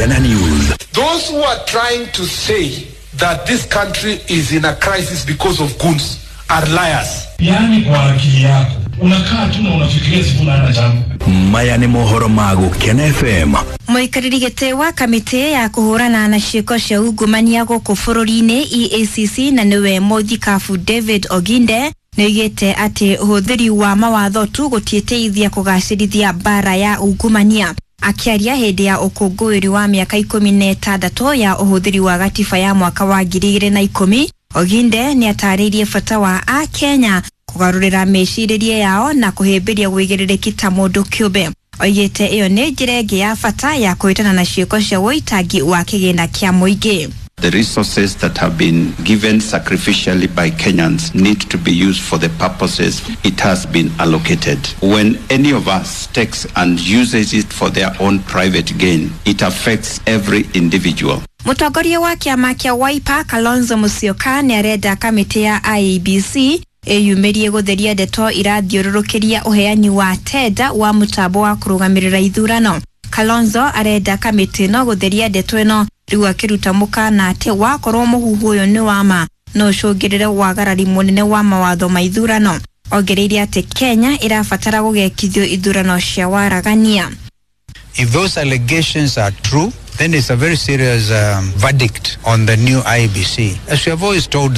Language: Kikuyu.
Gukena News. Those who are trying to say that this country is in a crisis because of goons are liars. Yaani kwa akili yako unakaa tu na unafikiria Sifuna hana jambo. Maya nĩ mohoro ma Gukena FM. Mũikarĩri gĩtĩ wa kamĩtĩ ya kũhũrana na ciĩko cia ungumania gũkũ bũrũri-inĩ EACC na nĩwe mũthikabu David Oginde nĩoigĩte atĩ ũhũthĩri wa mawatho tu gũtiĩteithia kũgacĩrithia mbara ya ungumania. Akĩaria hĩndĩ ya ũkũngũĩri wa mĩaka 16 ya ũhũthĩri wa gatiba ya mwaka wa 2010, Oginde nĩatarĩirie bata wa Akenya kũgarũrĩra mĩcirĩrie yao na kũhĩmbĩria wĩigĩrĩrĩki ta mũndũ kĩũmbe. Oigĩte ĩyo nĩ njĩra ĩngĩ ya bata ya kũhĩtana na ciĩko cia ũitangi wa kĩgĩna kĩa mũingĩ. The resources that have been given sacrificially by Kenyans need to be used for the purposes it has been allocated. When any of us takes and uses it for their own private gain, it affects every individual. Mũtongoria wa kĩama kĩa Wiper Kalonzo Musyoka nĩarenda kamĩtĩ ya IEBC ĩyumĩrie gũtheria ndeto irathiũrũrũkĩria ũheani wa tenda wa mũtambo wa kũrũgamĩrĩra ithurano. Kalonzo arenda kamĩtĩ ĩno gũtheria ndeto ĩno rĩu akĩruta mũkana atĩ wakorwo mũhuhu ũyũ nĩ wa ma no ũcũngĩrĩre wagarari mũnene wa mawatho ma ithurano. Ongereire atĩ Kenya ĩrabatara gũgekithio ithurano cia waragania. If those allegations are true, then it's a very serious verdict on the new IEBC. As we have always told